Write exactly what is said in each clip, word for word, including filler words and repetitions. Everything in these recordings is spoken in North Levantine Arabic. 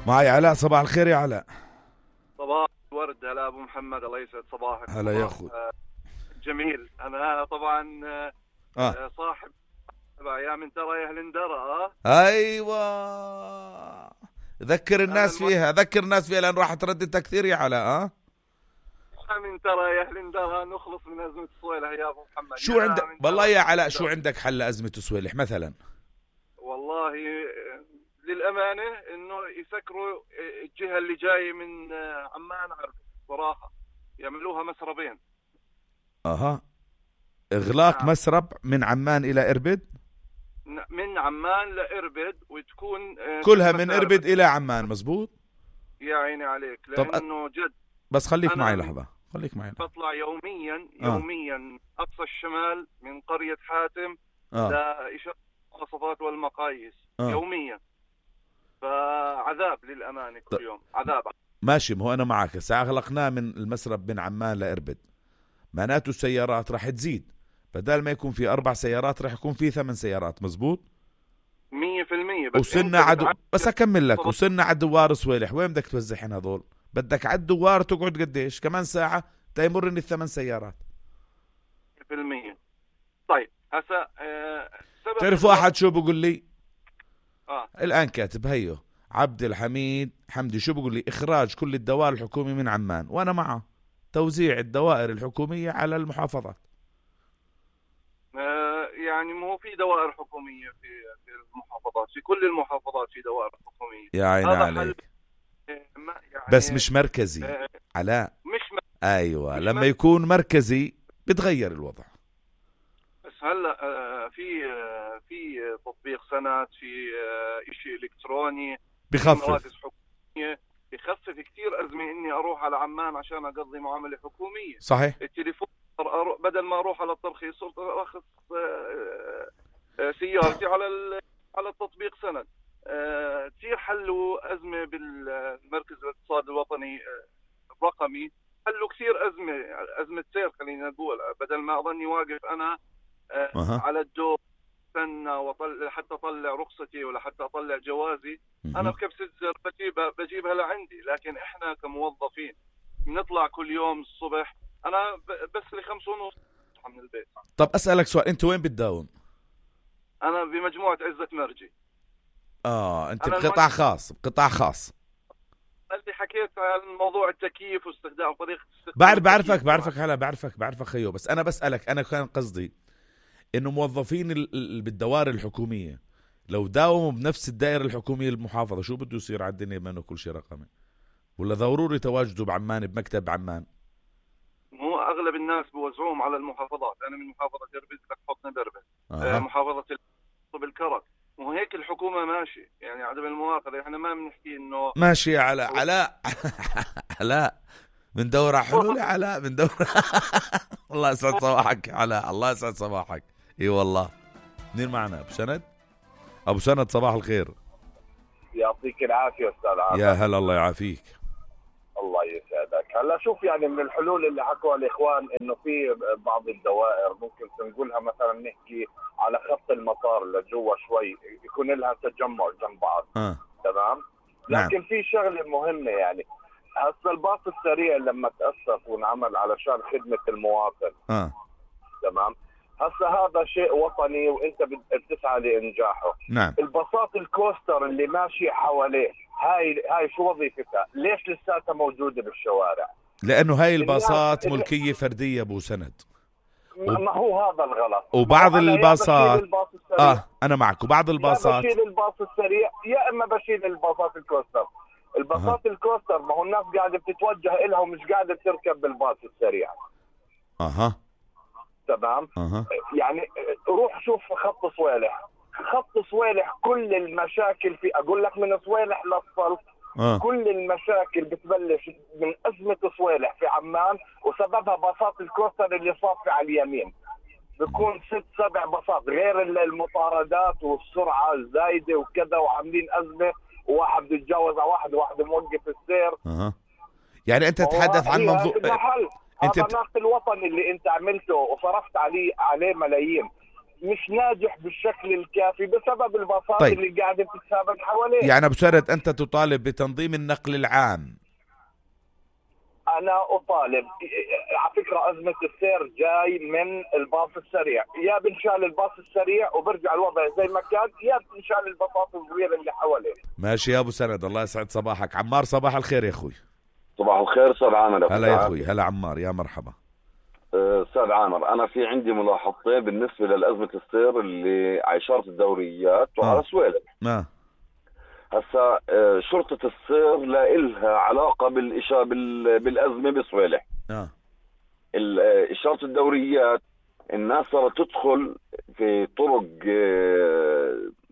معي علاء. صباح الخير يا علاء. صباح الورد. هلا ابو محمد، الله يسعد صباحك. هلا يا اخوي. جميل. انا طبعا آه. صاحب يا من ترى يا هلندرة. اه ايوه ذكر الناس فيها، ذكر الناس فيها لان راح ترددها كثير يا علاء. اه من ترى يا هلندرة نخلص من ازمه صويلح يا ابو محمد. شو عندك والله يا علاء، شو عندك حل لازمه صويلح مثلا؟ والله للامانه انه يسكروا الجهه اللي جايه من عمان عرب صراحه، يعملوها مسربين. اها اغلاق نعم. مسرب من عمان الى اربد، من عمان لاربد، وتكون كلها من اربد الى عمان. مزبوط يا عيني عليك. لانه جد بس خليك معي لحظه، خليك معي لحظة. بطلع يوميا يوميا آه. اقصى الشمال من قريه حاتم آه. لإشارة المواصفات والمقاييس آه. يوميا، فعذاب للامانه كل ط... يوم عذاب. ماشي، ما هو انا معك. هسه اغلقناه من المسرب من عمان لاربد، معناته السيارات راح تزيد، بدل ما يكون في اربع سيارات راح يكون في ثمان سيارات. مزبوط مية في المية. بس وصلنا عدو بس اكمل لك، وصلنا على دوار صويلح. وين بدك توزعين هذول؟ بدك على الدوار تقعد قديش كمان ساعه تيمرني الثمان سيارات. مية في المية. طيب هسا أه تعرف واحد شو بقول لي؟ اه الان كاتب هيو عبد الحميد حمدي، شو بقول لي؟ اخراج كل الدوائر الحكوميه من عمان، وانا معه توزيع الدوائر الحكوميه على المحافظات. آه يعني مو في دوائر حكوميه في في المحافظات، في كل المحافظات في دوائر حكوميه. يا عيني عليك. يعني بس مش مركزي آه علاء. مش مركزي. ايوه مش لما مركزي. يكون مركزي بتغير الوضع. بس هلا آه في آه في تطبيق سند، في آه شيء الكتروني بخفف حكوميه، بخفف كثير ازمه اني اروح على عمان عشان اقضي معامله حكوميه. صحيح. التليفون بدل ما اروح على الترخيص صرت اخذ سيارتي على على التطبيق سند. كثير حلوا ازمه بالمركز الاقتصادي الوطني الرقمي، حلوا كثير ازمه ازمه سير خلينا نقول، بدل ما اظني واقف انا أه. على الدور استنى وطلع حتى اطلع رخصتي ولا حتى اطلع جوازي. مه. انا بكبسة زر بجيبها بجيبها لعندي. لكن احنا كموظفين بنطلع كل يوم الصبح، انا بس لخمس ونص من البيت. طب اسالك سؤال، انت وين بتداوم؟ انا بمجموعه عزة مرجي. اه انت بقطاع خاص، بقطاع خاص. انت حكيت عن موضوع التكييف واستخدام طريقه استخدام بعرف بعرفك بعرفك هلا بعرفك بعرفك خيو. بس انا بسالك، انا كان قصدي انه موظفين ال... بالدوائر الحكوميه لو داوموا بنفس الدائره الحكوميه المحافظه، شو بده يصير على الدنيا بما انه كل شيء رقمي؟ ولا ضروري تواجده بعمان بمكتب عمان؟ مو اغلب الناس بوزعوهم على المحافظات. انا من محافظه اربد لك حطنا دربه. آه. محافظه بالكرك. وهيك الحكومه ماشي، يعني عدم المؤاخذه احنا ما بنحكي انه ماشي. على علاء علاء من دورة حلول يا علاء، من دورة الله يسعد صباحك علاء، الله يسعد صباحك. اي والله. مين معنا؟ ابو سند. ابو سند صباح الخير. يعطيك العافيه استاذ عادل. يا هلا الله يعافيك. الله يسعدك. هلا شوف، يعني من الحلول اللي حكوها الاخوان انه في بعض الدوائر ممكن تنقلها مثلا نحكي على خط المطار لجوا شوي، يكون لها تجمع جنب بعض. آه. تمام. لكن نعم. في شغله مهمه، يعني هسه الباص السريع لما تاسس وانعمل علشان خدمه المواطن. اه تمام. هسه هذا شيء وطني وانت بتسعى لانجاحه. نعم. الباصات الكوستر اللي ماشي حواليه، هاي هاي شو وظيفتها؟ ليش لساتها موجوده بالشوارع؟ لانه هاي الباصات ملكيه فرديه ابو سند. ما هو هذا الغلط. وبعض الباصات اه انا معك. وبعض الباصات يا بشيل الباص السريع يا اما بشيل الباصات الكوستر. الباصات أه. الكوستر ما هو الناس قاعده بتتوجه لها ومش قاعده تركب بالباص السريع. اها تمام. أه. يعني روح شوف خط صويلح. خط صويلح كل المشاكل في، اقول لك من صويلح للصلت أه. كل المشاكل بتبلش من ازمه صويلح في عمان، وسببها باصات الكوستر اللي صافي على اليمين. بيكون ست سبع باصات، غير المطاردات والسرعه الزايده وكذا، وعاملين ازمه، وواحد بيتجاوز على واحد وواحد موقف السير. اها يعني انت تتحدث عن منظور انت هذا النقل الوطني اللي انت عملته وصرفت عليه عليه ملايين. مش ناجح بالشكل الكافي بسبب الباصات طيب. اللي قاعدة تتسابق حواليه. يعني أبو سرد أنت تطالب بتنظيم النقل العام. أنا أطالب. على فكرة أزمة السير جاي من الباص السريع، يا بنشال الباص السريع وبرجع الوضع زي ما كان، يا بنشال الباصات الصغيرة اللي حواليه. ماشي يا أبو سرد، الله يسعد صباحك. عمار صباح الخير يا أخوي. صباح الخير أستاذ عامر. هلا يا أخوي. هلا عمار، يا مرحبا. أستاذ عامر، أنا في عندي ملاحظتين بالنسبة للأزمة السير اللي على إشارة الدوريات وعلى آه. سويلة. آه. هسا شرطة السير لا إلها علاقة بالإشارة بالأزمة بسويلة. آه. إشارة الدوريات الناس صارت تدخل في طرق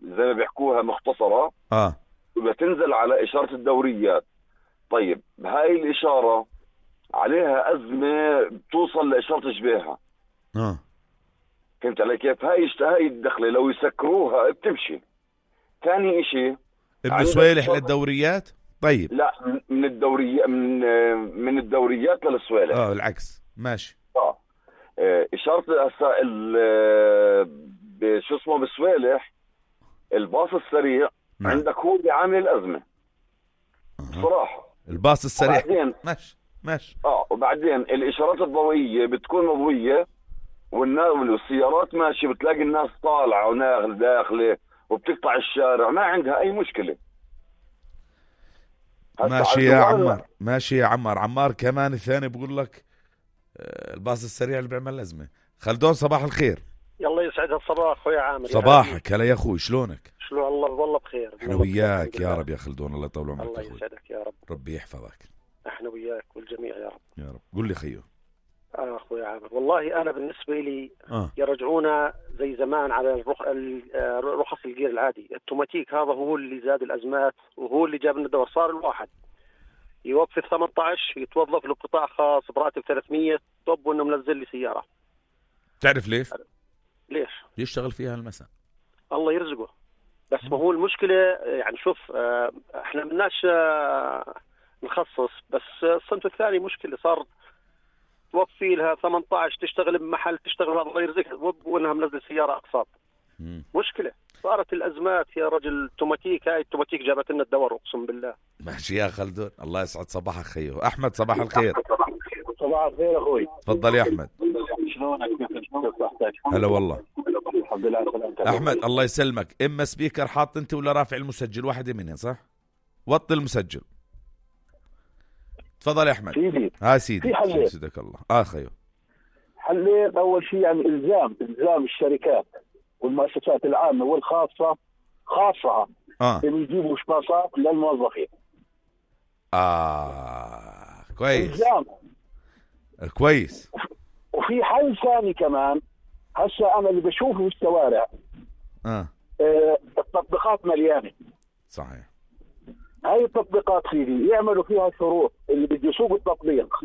زي ما بيحكوها مختصرة. آه. وبتنزل على إشارة الدوريات. طيب هاي الإشارة عليها أزمة بتوصل لإشارة جبيهة. آه. فهمت علي كيف؟ هاي هاي الدخلة لو يسكروها بتمشي. ثاني إشي ابن سويلح للدوريات. طيب لا، من الدوريات من من الدوريات للسويلح. اه العكس. ماشي. اه إشارة هسا شو اسمه بسويلح الباص السريع. نعم. عندك هو اللي عامل الأزمة. أه. صراحة الباص السريع. وبعدين ماشي ماشي. اه وبعدين الإشارات الضوئية بتكون مضوية والناس والسيارات ماشي، بتلاقي الناس طالعة وناخل داخلة وبتقطع الشارع، ما عندها أي مشكلة. ماشي يا عمار، ماشي يا عمار. عمار كمان الثاني بقول لك الباص السريع اللي بيعمل أزمة. خلدون صباح الخير. يلا يسعد الصباح أخوي عامر. صباحك. هلا يا أخوي، شلونك؟ شلون الله؟ والله بخير. احنا وياك يا رب يا خلدون، الله يطول عمرك. الله يسعدك يا رب. ربي يحفظك. احنا وياك والجميع يا رب يا رب. قل لي خيو. اه اخوي عامر، والله انا بالنسبه لي آه. يرجعونا زي زمان على الرخ... رخص الجير العادي. التوماتيك هذا هو اللي زاد الازمات وهو اللي جاب لنا الدور. صار الواحد يوظف ثمانية عشر يتوظف له قطاع خاص براتب ثلاثمية، طب وانه منزل لي سياره. تعرف ليش؟ ليش؟ يشتغل فيها المساء. الله يرزقه. بس ما هو المشكله يعني شوف اه احنا مناش اه نخصص، بس الصنف الثاني مشكله. صار توفي لها ثمانية عشر تشتغل بمحل، تشتغل هذا الله يرزقها وانها منزل سياره اقساط. مشكله. صارت الازمات يا رجل. التوماتيك هاي التوماتيك جابت لنا الدور اقسم بالله. ماشي يا خلدون، الله يسعد صباحك خيو. احمد صباح الخير. صباح الخير اخوي. تفضل يا احمد. شلونك؟ كيف صحتك؟ هلا والله. الحمد لله سلامتك احمد. الله يسلمك. اما سبيكر حاط انت ولا رافع المسجل؟ واحده منهم صح؟ وطي المسجل. تفضل يا احمد. سيدي ها سيدي. في حلين. سيدك الله. اه خيو. حلين. اول شيء يعني الزام الزام الشركات والمؤسسات العامه والخاصه خاصه اه اللي يجيبوا شباصات للموظفين. اه كويس. الزام. كويس. وفي حل ثاني كمان. هسه انا اللي بشوفه في الشوارع اه, آه التطبيقات مليانه. صحيح. هاي التطبيقات سيدي يعملوا فيها شروط. اللي بده يسوق التطبيق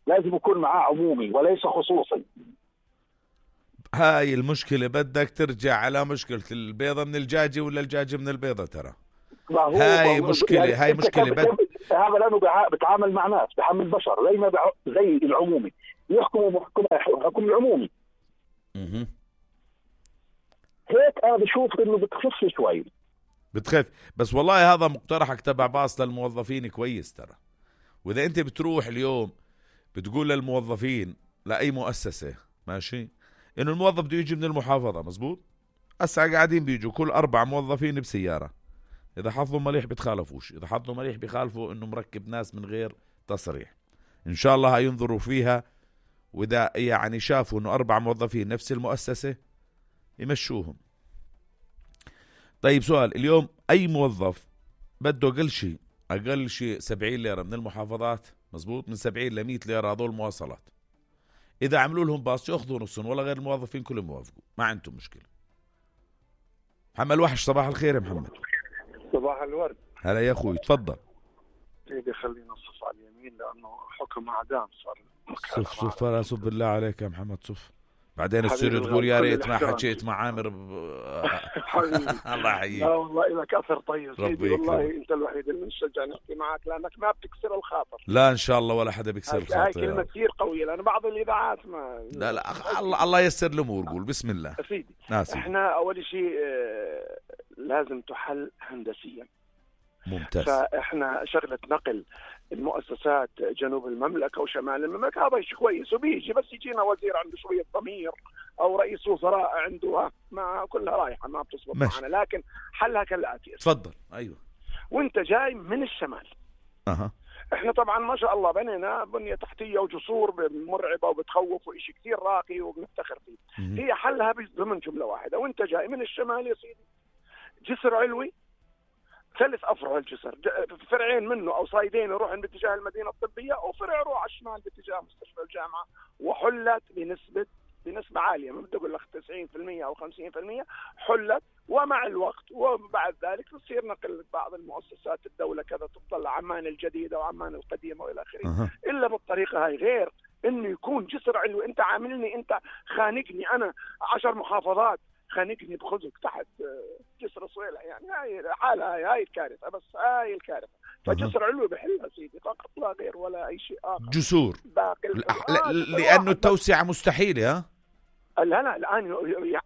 لازم يكون معاه عمومي وليس خصوصي. هاي المشكلة بدك ترجع على مشكلة البيضة من الجاجة ولا الجاجة من البيضة. ترى هاي مشكلة. يعني هاي مشكلة بد... هذا لأنه بتعامل مع ناس بحمل بشر زي ما بع... زي العمومي يحكموا محكمة حكم العمومي. اها هيك أنا بشوف إنه بتخف شوي. بتخف. بس والله هذا مقترحك تبع باص للموظفين كويس ترى. وإذا أنت بتروح اليوم بتقول للموظفين لأي مؤسسة ماشي إنه الموظف بده يجي من المحافظة مزبوط. هسه قاعدين بيجوا كل أربع موظفين بسيارة. إذا حظوا مليح بتخالفوش، إذا حظوا مليح بخالفوا إنه مركب ناس من غير تصريح. إن شاء الله هينظروا فيها، وإذا يعني شافوا إنه أربع موظفين نفس المؤسسة يمشوهم. طيب سؤال، اليوم أي موظف بده أقل شيء أقل شيء سبعين ليرة من المحافظات مزبوط، من سبعين لمية ليرة هذول مواصلات. إذا عملوا لهم باص يأخذوا نصهم ولا غير الموظفين كلهم يوافقوا، ما عندهم مشكلة. محمد وحش صباح الخير يا محمد. صباح الورد. هلا يا أخوي تفضل. سيدي خلينا نصف على اليمين لأنه حكم أعدام صار. صف صف لا صف بالله عليك يا محمد صف. بعدين تصير تقول يا ريت ما حكيت مع عامر ب... الله يحييك. لا والله لك اثر طيب سيدي، والله يكرمك. انت الوحيد اللي بنشجع نحكي معك لانك ما بتكسر الخاطر. لا ان شاء الله ولا حدا بيكسر هاي الخاطر. كلمه كثير قويه لان بعض الاذاعات ما لا لا أخ... الله الله يسر الامور. قول بسم الله. سيدي ناسي. احنا اول شيء آه، لازم تحل هندسيا. ممتاز. فاحنا شغله نقل المؤسسات جنوب المملكه وشمال المملكه هذا شيء كويس وبيجي، بس يجينا وزير عنده شويه ضمير او رئيس وزراء عنده ما كلها رايحه ما بتزبط معنا. لكن حلها كالاتي. تفضل. ايوه. وانت جاي من الشمال. اها. احنا طبعا ما شاء الله بنينا بنيه تحتيه وجسور مرعبه وبتخوف وشيء كثير راقي وبنفتخر فيه. مم. هي حلها ضمن جمله واحده. وانت جاي من الشمال يا سيدي جسر علوي ثلاث افرع الجسر، فرعين منه او صايدين يروحن باتجاه المدينه الطبيه وفرع يروح على الشمال باتجاه مستشفى الجامعه، وحلت بنسبه بنسبه عاليه ما بدي اقول لك تسعين بالمئة او خمسين بالمئة حلت. ومع الوقت وبعد ذلك تصير نقل بعض المؤسسات الدوله كذا تطلع عمان الجديده وعمان القديمه والى اخره. أه. الا بالطريقه هاي غير انه يكون جسر علوي. انت عاملني انت خانقني انا عشر محافظات خانقني بخزق تحت جسر صويلة، يعني هاي حالها هاي, هاي الكارثة. بس هاي الكارثة. فجسر علوي بحلها سيدي فقط لا غير ولا أي شيء آخر. جسور. باقي الأح... آه لأنه التوسعة مستحيلة. ها لا لا الآن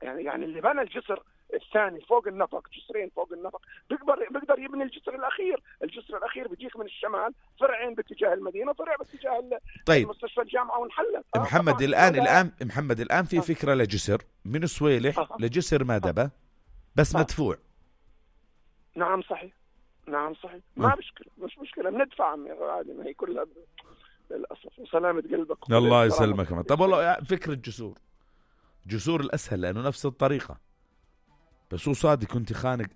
يعني يعني اللي بنى الجسر الثاني فوق النفق، جسرين فوق النفق، بيقدر بيقدر يبني الجسر الأخير. الجسر الأخير بيجيك من الشمال فرعين باتجاه المدينة، فرع باتجاه طيب. مستشفى الجامعة ونحلت. آه محمد الآن الآن محمد الآن في فكرة لجسر من صويلح آه. لجسر مادبة بس آه. مدفوع. نعم صحيح. نعم صحيح. آه. ما مشكلة مش مشكلة بندفع عادي، ما هي كلها للأسف. وسلامة قلبك. الله يسلمك. طب والله فكرة جسور جسور الأسهل لأنه نفس الطريقة، بس هو صادق كنت خانق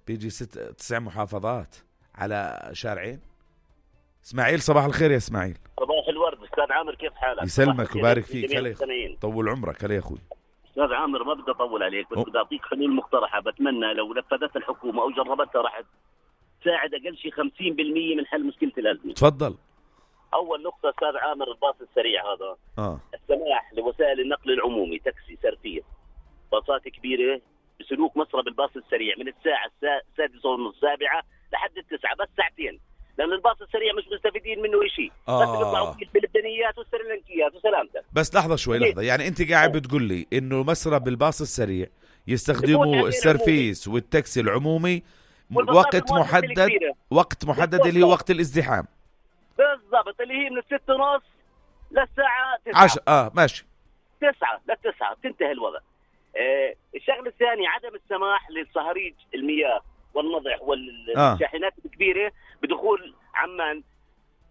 بيجي ست تسع محافظات على شارعين. اسماعيل صباح الخير يا اسماعيل. صباح الورد استاذ عامر، كيف حالك؟ يسلمك وبارك فيك. هلا طول عمرك. هلا يا اخوي. استاذ عامر ما بدي اطول عليك بس بدي اعطيك حلول مقترحه بتمنى لو نفذتها الحكومه او جربتها راح تساعد اقل شيء خمسين بالمئة من حل مشكله الازمه. تفضل. اول نقطه استاذ عامر الباص السريع هذا اه السماح لوسائل النقل العمومي تاكسي سرفيه باصات كبيره بسلوك مسرى بالباص السريع من الساعه السادسة ونص السابعه لحد التسعة، بس ساعتين، لأن الباص السريع مش مستفيدين منه شيء. آه. بس بيطلعوا فيه الفلبينيات والسريلانكيات وسلامتك. بس لحظة شوي لحظة، يعني أنت قاعد بتقول لي إنه مسرى بالباص السريع يستخدموا السرفيس والتاكسي العمومي وقت محدد، وقت محدد اللي هو وقت الازدحام بالضبط، اللي هي من الست ونص للساعة تسعة. عش... اه ماشي تسعة للتسعة تنتهي الوضع. آه الشغله الثانيه عدم السماح للصهاريج المياه والنضح والشاحنات آه. الكبيره بدخول عمان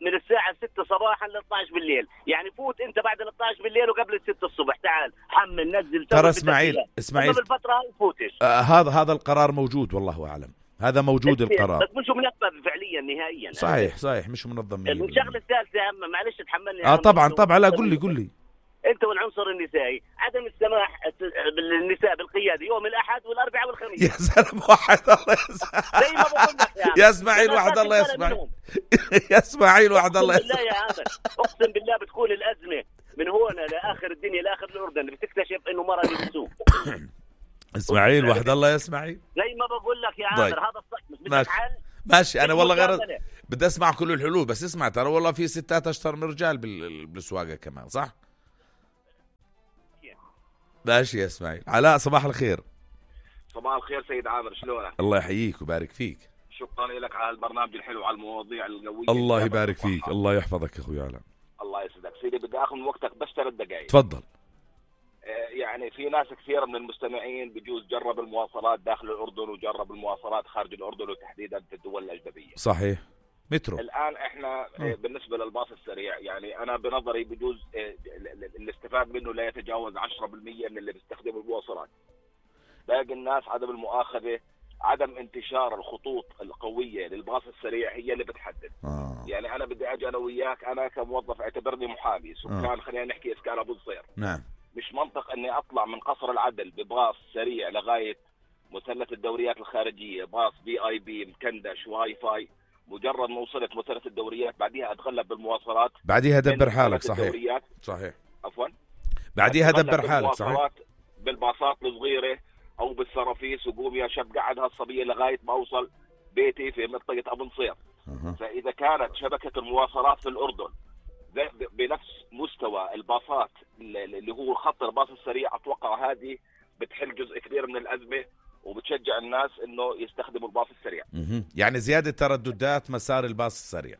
من الساعه ستة صباحا ل اثنعش بالليل. يعني فوت انت بعد ال اثنعش بالليل وقبل الستة الصبح، تعال حمل نزل. ترى اسماعيل اسماعيل بالفتره هاي فوتش. آه هذا هذا القرار موجود والله اعلم، هذا موجود القرار بس مش منفذ فعليا نهائيا. صحيح صحيح مش منظم. الشغله الثالثه يا عم معلش تحملني. اه طبعا طبعا لا قل لي قل لي انت والعنصر النسائي عدم السماح بالنساء بالقياده يوم الاحد والاربعاء والخميس. يا سلام وحد الله زي ما بقول لك يا اسماعيل وحد الله يسمع يا اسماعيل وحد الله يسمع. بالله يا عامر اقسم بالله بتكون الازمه من هون لاخر الدنيا لاخر الاردن بتكتشف انه مرض بالسوق. اسماعيل وحد الله يا اسماعيل زي ما بقول لك يا عامر. هذا الصح مش بدك حل. ماشي انا والله غير بدي اسمع كل الحلول، بس اسمع ترى والله في ستات اشطر من رجال بالسواقه كمان صح. ماشي يا اسماعيل. علاء صباح الخير. صباح الخير سيد عامر، شلونك؟ الله يحييك ويبارك فيك. شكرا لك على البرنامج الحلو على المواضيع القويه. الله يبارك فيك. الله يحفظك يا اخوي علاء. الله يسعدك سيدي. بدي اخذ من وقتك بس ثلاث دقائق. تفضل. يعني في ناس كثير من المستمعين بجوز جرب المواصلات داخل الأردن وجرب المواصلات خارج الأردن وتحديدا في الدول الأجنبية. صحيح. مترو. الآن احنا م. بالنسبة للباص السريع يعني أنا بنظري بجوز الاستفاد منه لا يتجاوز عشرة بالمئة من اللي بيستخدموا المواصلات. باقي الناس عدم المؤاخذة، عدم انتشار الخطوط القوية للباص السريع هي اللي بتحدد. آه. يعني أنا بدي أجي أنا وياك، أنا كموظف اعتبرني محامي سكان آه. خلينا نحكي إسكان أبو الصير. نعم. مش منطق اني اطلع من قصر العدل بباص سريع لغايه مثلث الدوريات الخارجيه، باص بي اي بي مكندش واي فاي، مجرد ما وصلت مثلث الدوريات بعديها اتغلب بالمواصلات، بعديها دبر حالك. صحيح صحيح عفوا بعديها دبر حالك. صحيح. بالباصات الصغيره او بالسرافيس وقوم يا شاب قعد هالصبيه لغايه ما اوصل بيتي في منطقه ابو نصير. أه. فاذا كانت شبكه المواصلات في الاردن بنفس مستوى الباصات اللي هو خط الباص السريع، اتوقع هذه بتحل جزء كبير من الازمه وبتشجع الناس انه يستخدموا الباص السريع. مه. يعني زياده ترددات مسار الباص السريع،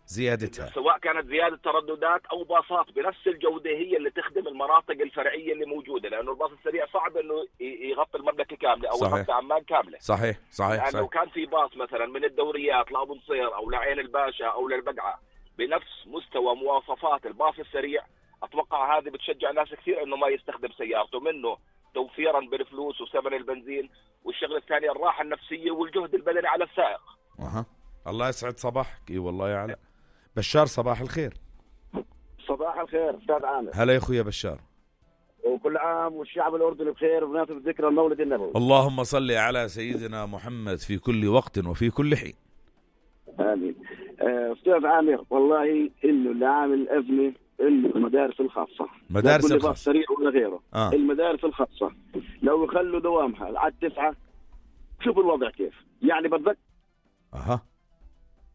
زيادتها سواء كانت زياده ترددات او باصات بنفس الجوده هي اللي تخدم المناطق الفرعيه اللي موجوده، لانه الباص السريع صعب انه يغطي المملكه كامله او يغطي عمان كامله. صحيح صحيح. يعني صحيح. لو كان في باص مثلا من الدوريات لابو نصير او لعين الباشا او للبقعه بنفس مستوى مواصفات الباص السريع، اتوقع هذه بتشجع ناس كثير انه ما يستخدم سيارته، منه توفيرا بالفلوس وثمن البنزين، والشغله الثانيه الراحه النفسيه والجهد البدني على السائق. اها الله يسعد صباحك. اي والله يا علاء. بشار صباح الخير. صباح الخير استاذ عامر. هلا يا اخويا بشار. وكل عام والشعب الاردني بخير بمناسبه ذكرى المولد النبوي. اللهم صل على سيدنا محمد في كل وقت وفي كل حين. امين. استاذ عامر، والله انه اللي عامل ازمه انه المدارس الخاصه، مدارس الخاصه سريع ولا غيره. آه. المدارس الخاصه لو يخلوا دوامها على التسعه، شوفوا الوضع كيف. يعني بتذكر اها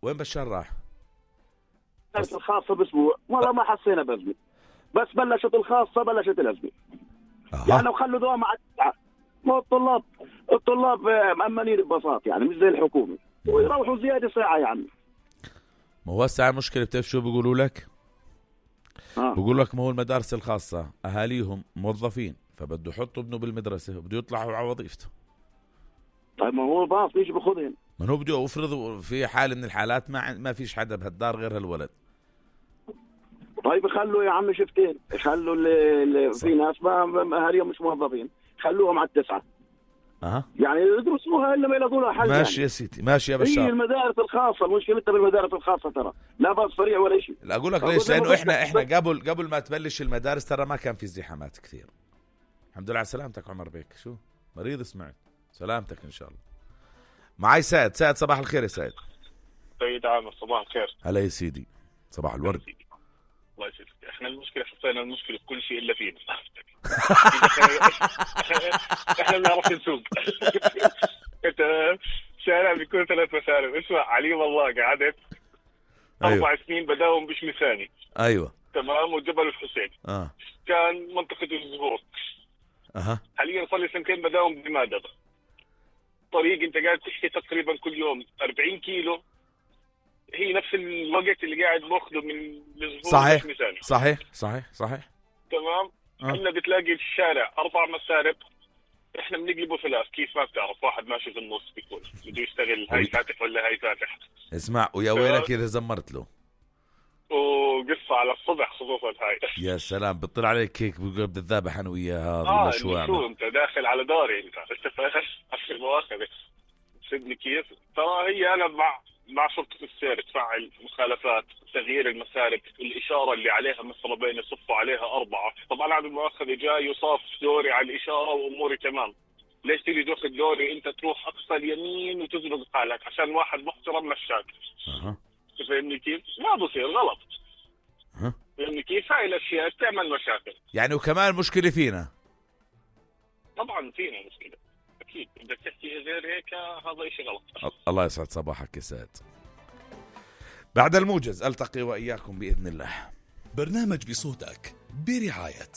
وين بشار راح؟ المدارس الخاصه باسبوع والله ما حسينا بازمه، بس بلشت الخاصه بلشت الازمه. أه. يعني لو خلوا دوامها على التسعه، ما الطلاب الطلاب مأمنين ببساطه، يعني مش زي الحكومه ويروحوا زياده ساعه. يعني ما هو الساعه المشكله بتعرف شو بيقولوا لك؟ آه. بقول لك ما هو المدارس الخاصة أهاليهم موظفين، فبده يحطوا ابنه بالمدرسة وبده يطلعوا على وظيفته. طيب ما هو الباص ليش بياخذهم؟ ما هو بده يفرض في حال من الحالات ما ما فيش حدا بهالدار غير هالولد. طيب خلوا يا عم شفتين، خلوا اللي, اللي في ناس ما اهاليهم مش موظفين، خلوهم على التسعة. أها. يعني يدرسوها الا ما يلاقوا لها حل. ماشي يعني. يا سيدي ماشي يا بشار. هي المدارس الخاصة مشكلتها بالمدارس الخاصة ترى، لا باص سريع ولا شيء. لا أقول لك ليش؟ لأنه إحنا إحنا قبل قبل ما تبلش المدارس ترى ما كان في ازدحامات كثير. الحمد لله على سلامتك عمر بيك. شو مريض سمعت؟ سلامتك إن شاء الله. معي سعد. سعد صباح الخير يا سعد. سيد عامر صباح الخير. هلا يا سيدي صباح الورد. الله يسعدك. احنا المشكله حطينا المشكله في كل شيء الا فينا. احنا بنعرف نسوق. انت شارع بيكون ثلاث مسالم. اسمع علي والله قعدت أيوة. اربع سنين بداوم بشمي ثاني. ايوه تمام. وجبل الحسين. اه كان منطقه الزهور. اها. حاليا صار لي سنتين بداوم بمادة. طريق انت قاعد تحكي تقريبا كل يوم أربعين كيلو، هي نفس الوقت اللي قاعد باخذه من الزهور. صحيح صحيح صحيح صحيح. تمام. احنا آه. بتلاقي الشارع اربع مسارب، احنا بنقلبه ثلاث. كيف ما بتعرف؟ واحد ماشي في النص بيكون بده يشتغل هاي فاتح ولا هاي فاتح. اسمع ويا ويلك اذا زمرت له. وقصة على الصبح خصوصا هاي. يا سلام بتطلع عليك هيك بقول بدي ذابح انا وياها. اه شو انت داخل على داري انت انت فاهم في المواخذة. تسدني كيف؟ ترى هي انا مع مع شرطة السير تفعل مخالفات، تغيير المسارب، الإشارة اللي عليها مسربين يصفوا عليها أربعة. طبعا عاد المؤخذ جاي يصاف دوري على الإشارة وأموري تمام. ليش تيجي تاخذ دوري أنت تروح أقصى اليمين وتزرق حالك عشان واحد محترم مشاك؟ أه. تفهمني كيف؟ ما بصير غلط. أه. فهمني كيف؟ هاي الأشياء تعمل مشاكل. يعني وكمان مشكلة فينا. طبعا فينا مشكلة. أكيد بدك تحكي غير هيك هذا إشي غلط. الله يسعد صباحك يا سعد. بعد الموجز ألتقي وإياكم بإذن الله. برنامج بصوتك برعاية